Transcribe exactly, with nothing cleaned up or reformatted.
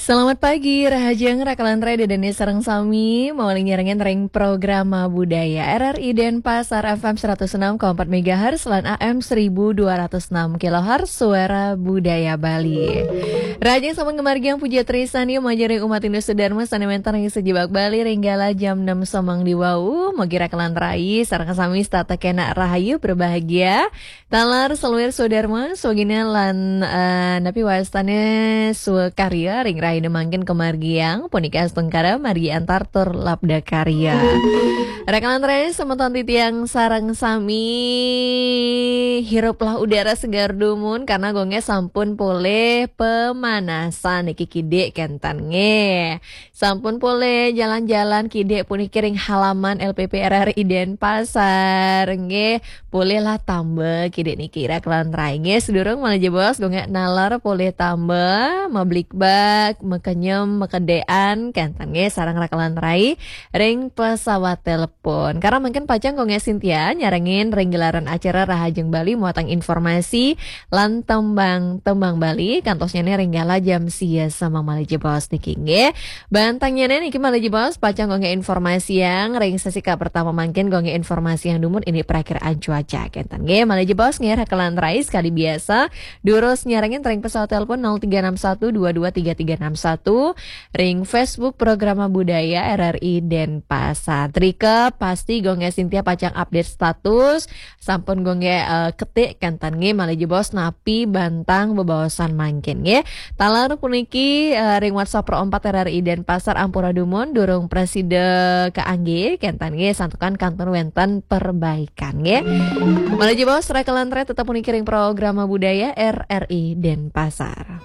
Selamat pagi, rahajeng rakalan rai, Dede sareng sami, mauling nyarengin ring programa budaya R R I Denpasar F M seratus enam koma empat megahertz lan A M seribu dua ratus enam kilohertz, suara budaya Bali. Rahajeng sampun ngamargiang puja trisan, ya, majeng ring umat Hindu sedharma sane wenten ring sajebag Bali, ring galah jam enam sameng diwau, mugi rakalan rai sareng sami setata kenak rahayu berbahagia. Taler saluir swadharma, swagina lan, eh, napi wastane swakarya ring rahina mangkin kamargiang, punika astungkara margi antar tur labda karya. Rakalan rai semeton titiang sareng sami, hiruplah udara segar dumun karena gongnya sampun polih pemanasan niki kidik kenten nggih. Sampun polih jalan-jalan kidik puniki ring halaman L P P R R I Denpasar nggih. Polihlah tamba kidik niki rakalan rai nggih. Sedurung malih jebos gongnya naler polih tamba, mablikbak, makenyem, makedean kenten nggih sareng rakalan rai ring pesawat telepon. Karena mungkin pacang gongnya Sintia nyarengin ring gelaran acara Rahajeng Bali muatang informasi lan tembang-tembang Bali, kantosnya nih ring galah jam sia sama malih jebos niki nggih. Bantangnya nih niki malih jebos, pacang gongnya informasi yang ring sesi ka pertama mangkin gongnya informasi yang dumun ini perakiraan cuaca kenten nggih. Malih jebos nggih rakalan rai sekali biasa, durus nyarengin ring pesawat telepon nol tiga enam satu dua dua tiga tiga enam satu, ring Facebook Programa Budaya R R I Denpasar. Trika pasti gongnya Sintia pacang update status, sampun gongnya, eh, ketik kenten nggih malih jebos napi bantang bebaosan mangkin nggih. Taler puniki, eh, ring WhatsApp Pro empat R R I Denpasar ampura dumun durung prasida kaanggé kenten nggih santukan kantun wenten perbaikan nggih. Malih jebos rakalan rai tetep puniki ring Programa Budaya R R I Denpasar.